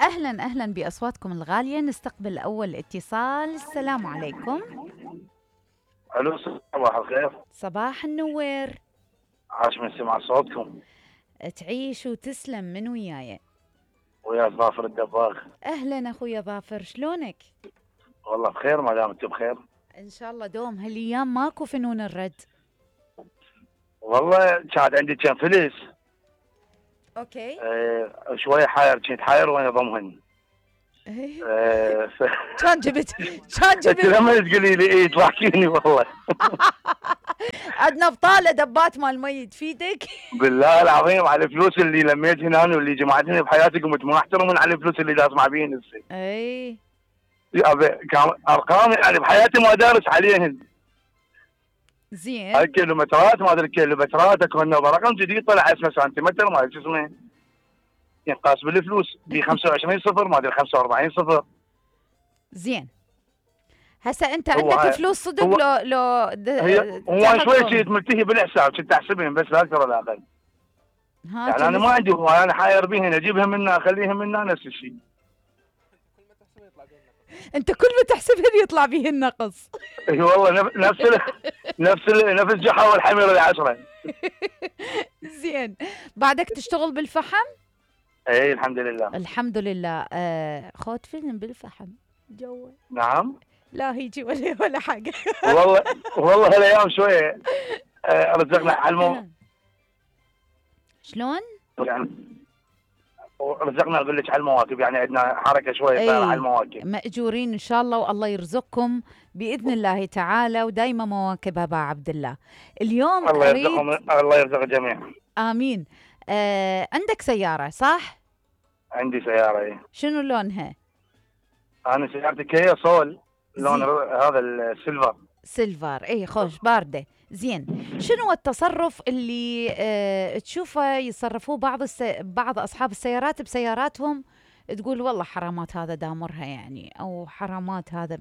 أهلا أهلا بأصواتكم الغالية. نستقبل أول اتصال. السلام عليكم. الو، صباح الخير. صباح النور. عاش من سمع صوتكم. تعيش وتسلم. من وياي؟ ويا ظافر الدباغ. أهلا أخويا ظافر، شلونك؟ والله بخير ما دام انتم بخير. إن شاء الله دوم. هالأيام ماكو فنون الرد. والله كانت عندي كم فلس. أوكي. شويه حاير، كنت حاير وانا ضمهن. كان جبت انت لما تقولي لي ايه تضحكيني والله. عندنا بطاله دبات مال مي تفيدك. بالله العظيم على الفلوس اللي لميت هنا واللي جمعتني بحياتي قمت ما احترمون على الفلوس اللي اسمع بيهن هسه. اي كان ارقام يعني بحياتي ما دارس عليهن. زين. الكيلومترات ما ادري الكيلومترات اكو رقم جديد طلع اسمه سنتيمتر ما ادري شو اسمه ينقاس بالفلوس ب 25 صفر ما ادري 45 صفر. زين. هسه انت عندك فلوس صدق لو هو شوي شيء ملتهي بالحساب كنت احسبهم بس لا اكثر ولا اقل. يعني انا ما عندي هو انا حاير بهن اجيبها منا اخليها منا نفس الشيء. انت كل ما تحسبهن يطلع به النقص. اي والله نفس الجحا والحمير العشرة. زين. بعدك تشتغل بالفحم؟ اي الحمد لله. الحمد لله. خذ فيلم بالفحم جوا. نعم. لا هيجي ولا حاجه. والله هالايام شويه رزقنا على شلون؟ يعني رزقنا اقول لك على المواكب، يعني عندنا حركه شويه صايره على المواكب. ماجورين ان شاء الله والله يرزقكم باذن الله تعالى ودايما مواكب ابا عبد الله. اليوم الله يرزق الجميع. امين. عندك سياره صح؟ عندي سياره. اي. شنو لونها؟ انا سيارتي كيا سول لون هذا السيلفر. اي خوش بارده. زين. شنو التصرف اللي تشوفه يصرفوه بعض اصحاب السيارات بسياراتهم تقول والله حرامات هذا دامرها يعني، او حرامات هذا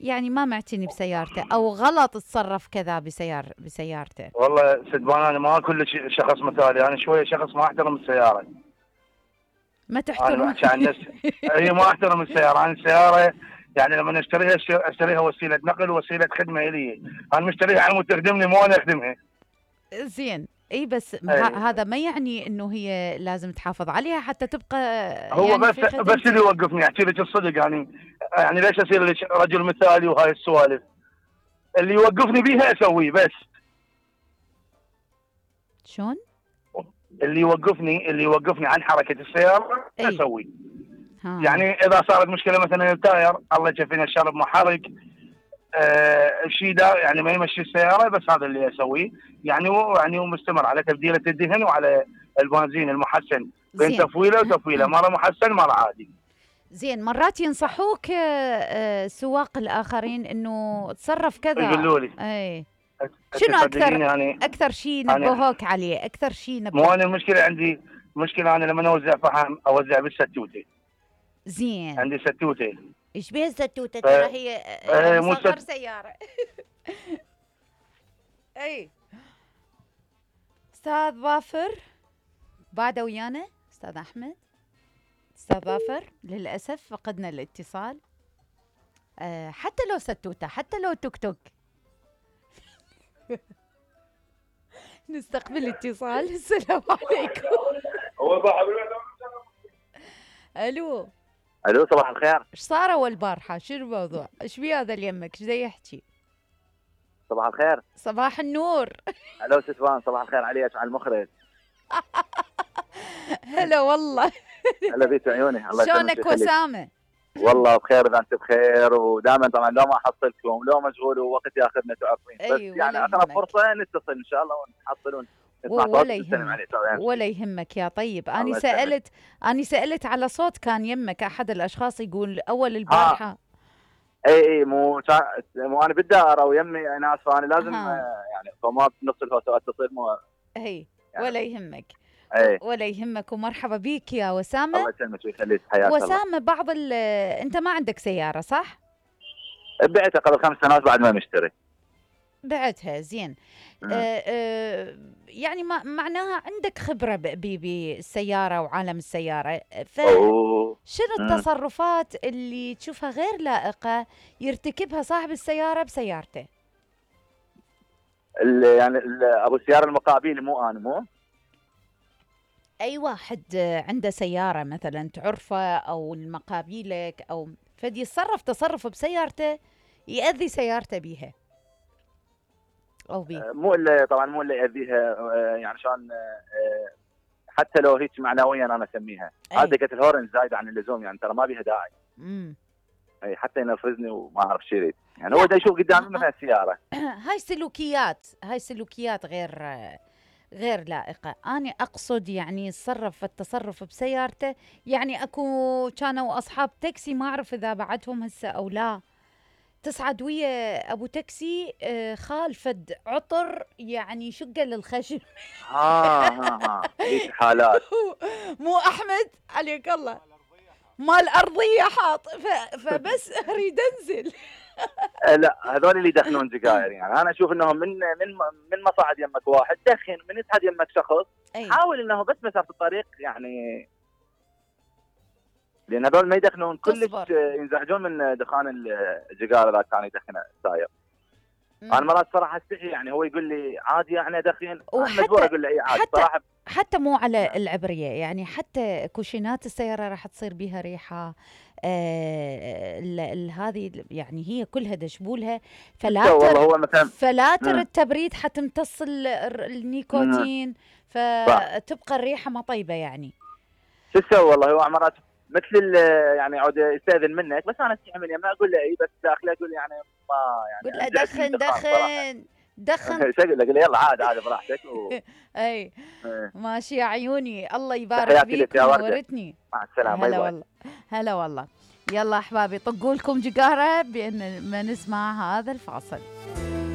يعني ما معتني بسيارته، او غلط تصرف كذا بسيارته؟ والله سدبان انا ما كل شخص مثالي، انا شويه شخص ما احترم السياره. ما تحترم؟ انا عشان الناس هي ما احترم السياره. انا السياره يعني لما اشتريها وسيله نقل ووسيله خدمه الي. انا مشتريها على مود تخدمني مو انا اخدمها. زين. اي بس هذا ما يعني انه هي لازم تحافظ عليها حتى تبقى. هو يعني بس اللي يوقفني احكي لك الصدق يعني ليش اصير لك رجل مثالي وهاي السوالف اللي يوقفني بيها اسويه بس. شلون؟ اللي يوقفني عن حركه السياره اسويه. يعني اذا صارت مشكله مثلا التاير الله يكفينا الشر محرك الشيء ده يعني ما يمشي السياره، بس هذا اللي اسويه. يعني مستمر على تبديله الدهن وعلى البنزين المحسن بين تفويله وتفويله، مره محسن مره عادي. زين. مرات ينصحوك سواق الاخرين انه تصرف كذا. يقولوا لي. اي. شنو اكثر شيء نبهوك عليه؟ اكثر شيء مو انا المشكله عندي مشكله انا لما اوزع فحم اوزع بالستوته. زين. عندي ستوته. ايش بيها الستوته؟ ترى هي مصغر سياره. اي. استاذ ظافر بعد ويانا؟ استاذ احمد؟ استاذ ظافر للاسف فقدنا الاتصال. حتى لو ستوته حتى لو توك توك. نستقبل اتصال. السلام عليكم. الو صباح الخير. ايش صار اول بارحه؟ شنو الموضوع؟ ايش بيه هذا اللي يمك؟ ايش ذا يحكي؟ صباح الخير. صباح النور. الو ستوان صباح الخير عليك على المخرج. هلا والله. هلا بيك عيوني. الله يسلمك. شلونك وسامه؟ والله بخير اذا انت بخير، ودائما طبعا لو ما احصلكم لو مشغول ووقت ياخذنا تعرفين. بس يعني اقرب فرصه نتصل ان شاء الله ونحصل ولا يهمك يا طيب. أنا سألت على صوت كان يمك أحد الأشخاص يقول أول البارحة. اي مو انا بالدائره ويمي ناس، فانا لازم يعني فما بنص الهوسه اتصل مو يعني ولا يهمك. أي. ولا يهمك ومرحبا بيك يا وسامه. الله يسلمك ويخليك. حياك الله. وسامه انت ما عندك سياره صح؟ بعتها قبل 5 سنوات بعد ما مشتري. بعتها زين. يعني معناها عندك خبرة بالسيارة وعالم السيارة، فشنو التصرفات اللي تشوفها غير لائقة يرتكبها صاحب السيارة بسيارته؟ يعني ابو السيارة المقابل، مو انا، مو اي واحد عنده سيارة مثلا تعرفه او المقابيلك او فدي يتصرف تصرف بسيارته يأذي سيارته بيها او بيه. مو اللي طبعا مو اللي يأذيها، يعني شلون، حتى لو هيك معنويا انا اسميها هذه دقة الهورن زايده عن اللزوم، يعني ترى ما بيها داعي. اي حتى ينرفزني وما اعرف شو يريد، يعني هو دا يشوف قدامي مثلا السياره. هاي سلوكيات غير لائقة. أنا أقصد يعني يتصرف التصرف بسيارته، يعني أكو كانوا أصحاب تاكسي ما أعرف إذا بعدهم هسه أو لا، تصعد ويا أبو تاكسي خال فد عطر يعني شقة للخشم. هيك حالات. مو أحمد عليك الله مال أرضية حاط فبس أريد أنزل. لا هذول اللي يدخنون سجاير، يعني انا اشوف انهم من ما صعد يمك واحد دخن، من يصعد يمك شخص حاول انه بس مسافه الطريق يعني، لان هذول ما يدخنون كلش ينزعجون من دخان السيجاره اذا كان يدخن ساير. انا مرات صراحه استحي، يعني هو يقول لي عادي يعني ادخن، انا مجبور اقول له اي عادي صراحه. حتى مو على العبريه، يعني حتى كوشينات السياره راح تصير بيها ريحه، هذه يعني هي كلها دشبولها فلاتر التبريد حتمتص النيكوتين، فتبقى الريحه ما طيبه يعني. شو تسوي والله، هو مرات مثل يعني عود يستاذن منك، بس انا استحي من ما اقول له اي، بس داخله اقول يعني ما يعني قول له دخن شو اقول له يلا عادي براحتك اي ماشي يا عيوني، الله يبارك فيك ونورتني. مع السلامه. هلا والله هلا والله. يلا احبابي طقوا لكم جقاره بان ما نسمع هذا الفاصل.